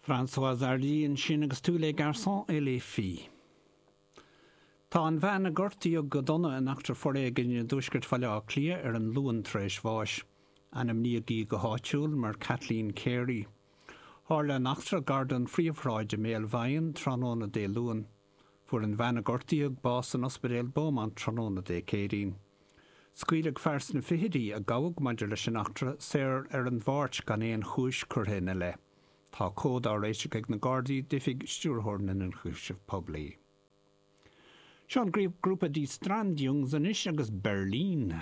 Françoise Hardy ansin agus Tous les garçons et les filles. Tá an bhean a gortaíodh go dona in eachtra foréigin i dtuaisceart Bhaile Átha Cliath ar an Luan tar éis bháis. Ainmníodh í go háitiúil mar Kathleen Carey. Tharla an eachtra gar don Phríomhshráid i mBéal Mheadhain tráthnóna Dé Luain. Fuair an bhean a gortaíodh bás in Ospidéal Beaumont tráthnóna Dé Céadaoin. Scaoileadh fear sna fichidí, a gabhadh maidir leis an eachtra, saor ar an Mháirt gan aon chúis curtha ina leith. Tá comhad á réiteach ag na Gardaí d'Oifig Stiúrthóir na nIonchúiseamh Poiblí. Seo an grúpa Die Strandjungs anois agus Berlin.